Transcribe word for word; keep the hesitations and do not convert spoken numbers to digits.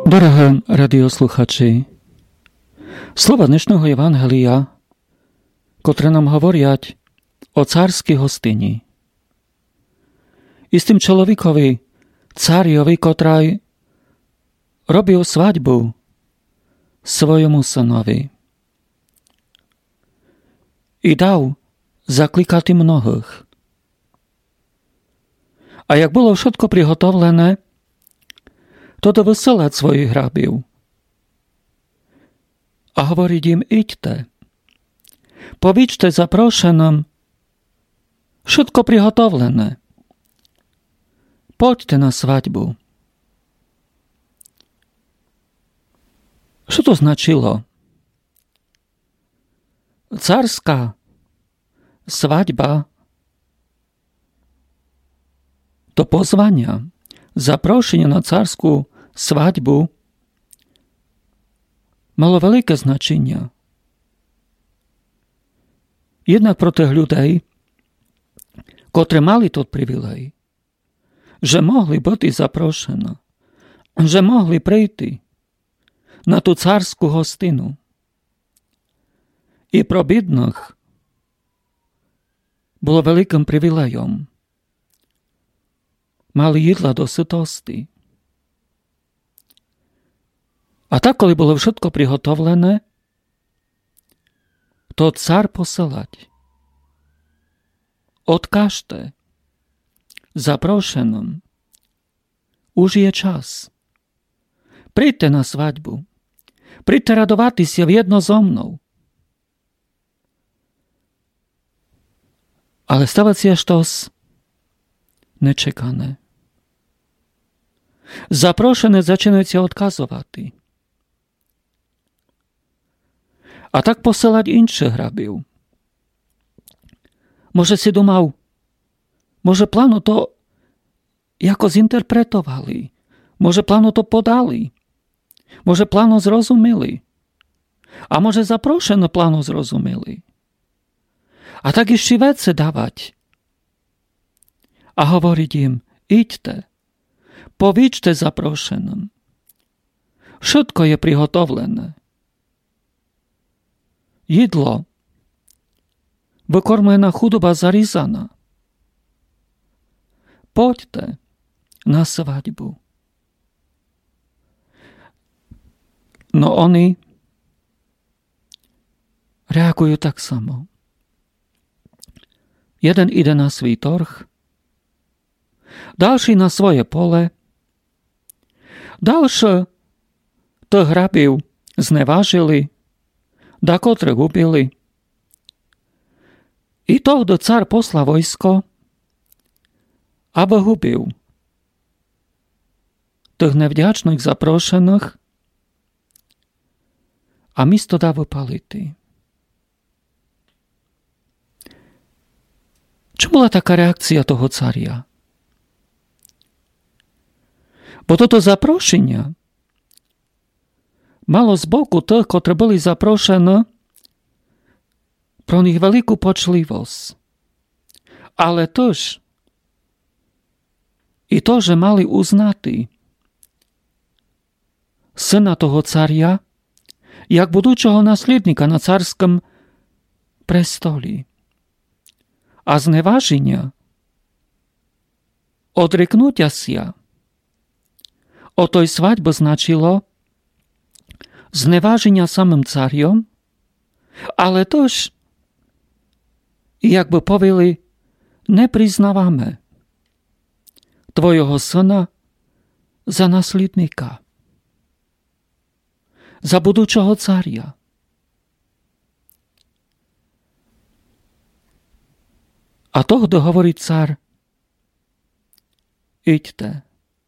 Дорогы радіослухачі, слова днешного Євангелія, котры нам говорять о царській гостині. Істым чоловікові, царьови, котрый робив свадьбу свойому сынови. І дав закликати многых. А як было вшытко приготовлене, то дав высылати своїх рабів. А говорить їм: «Ідьте, повічте запрошеным, вшытко приготовлене. Пойдьте на свадьбу». Што то значило? Царська свадьба, то позваня, запрошеня на царську свадьбу мало велике значеня. Єднак про тых людей, котры мали тот привілей, же могли быти запрошены, же могли прийти на ту царську гостину. І про бідных было великым привілейом. Мали їдла до сытости. А так, коли было вшытко приготовлене, то цар посылать: «Одкажте запрошеным, уж є час. Прийдьте на свадьбу. Прийдьте радовати ся вєдно зо мнов». Але става ся штось нечекане. Запрошены зачинают ся одказовати. А так посылать іншых рабів. Може си думав, може плано то якось інтерпретовали, може плано то подали, може плано зрозуміли, а може запрошены плано зрозуміли. А так іщи веце давать. А говорить їм: «Ідьте, повічте запрошеным. Вшытко є приготовлене. Їдло, выкормлена худоба зарізана. Пойдьте на свадьбу». Но они реагуют так само. Єден іде на свій торг, далшый на своє поле, далше тых рабів зневажили, дакотрых убили. І тогды цар посла войско, абы губив тых невдячных запрошеных, а місто дав выпалити. Чому была така реакція того царя? Бо тото запрошеня мало з боку тых, котры были запрошены, про них велику почливость. Але тыж і то, же мали узнати сына того царя як будучого наслідника на царськым престолі. А зневаженя, одрекнутя ся од той свадьбы значило зневаженя самым царьом, але тыж, як бы повіли, не признаваме твойого сына за наслідника, за будучого царя. А тогды говорить цар: «Ідьте,